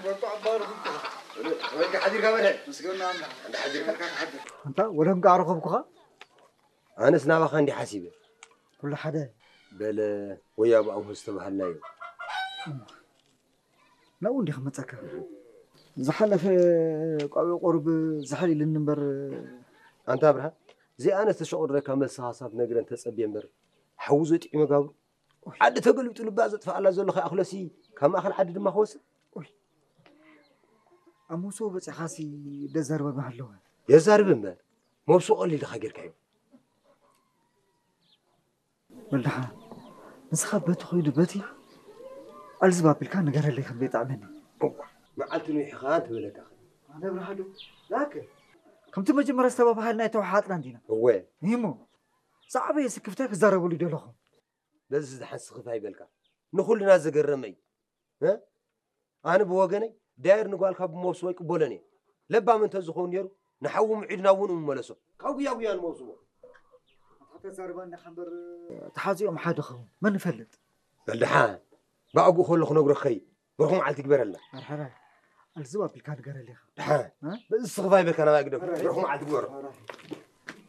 ወርቁ ዓባሩ። ከመይ ሓዲርካ በለ? ምስጋና ኣምላኽ። እንዳ ሓዲርካ? ሓድር። ኣንታ ወለም ጋር ረኸብኩኻ? ኣነስ ናባኻ እንዲ ሓሲበ። ኩሉ ሓደ። በለ፣ ወይ ኣብኡ ዝተባሃልናዮ። ናብኡ እንዲኻ መጸካ። ዝሓለፈ ቋቢው ቁሩብ ዝሕል ኢልኒ እምበር። ኣንታ ኣብርሃ፣ እዚኣነ ዝተሸቑረካ መልሲ ሃሳብ ነግረን ተጸብየ እምበር፣ ሓዊ ዘጥዒመ ጋብሩ። ዓዲ ተገልቢጡ ልባ ዘጥፍኣላ ዘሎ ከይኣኽለሲ፣ ካብ ማእኸል ዓዲ ድማ ክወስድ። ኡይ። ኣብ መውስቦ በጺኻሲ ደዛርበ ምሃለወ። የዛርብ እምበር፣ መውስቦ ቀሊል ድኻ ጌርካዮ? ወልድሓ፣ ንስኻ በቲ ኾይዱ በቲ ኣልዝብ ኣቢልካ ንገረለይ ከም ዘይጠዕመኒ። እዋ፣ መዓልቲ ንውሒኻ እንተበለካ ኸ? ኣነ ብርሃዱ፣ ላከ። ከምቲ መጀመርያ ዝተባባሃልና የተወሓጥና እንዲና። እወ። እሞ፣ ዝዓበየ ስክፍታይ ክዛረበሉ ይደለኹ። በዚ ዝደሓን ስኽፍ ኣይበልካ። ንኹልና ዘገረመ እዩ። እ? ኣነ ብወገነይ፣ ዳየር ንጓልካ ብመውስቦ ይቅበሎን እየ። ለባም እንተዝኸውን ነይሩ፣ ንሓዉ ምዒድና እውን ምመለሶ። ካብ ጉያ ጉያ ንመውስቦ። ኣታ ተዛርባ እንዲኻ እምበር፣ ተሓዚኦም ሓደ ኸውን። መን ይፈልጥ? በል ደሓን፣ ብኣግኡ ከሎ ክነግሮ ክኸይድ። ብሩኽ መዓልቲ ይግበረልና። ኣርሓራይ፣ ኣልዝብ ኣቢልካ ንገረለይ ኢኻ። ደሓን፣ እ? በዚ ስኽፍ ኣይበልካ ናባይ ግደፍ። ኣርሓራይ። ብሩኽ መዓልቲ ግበሮ። ኣርሓራይ።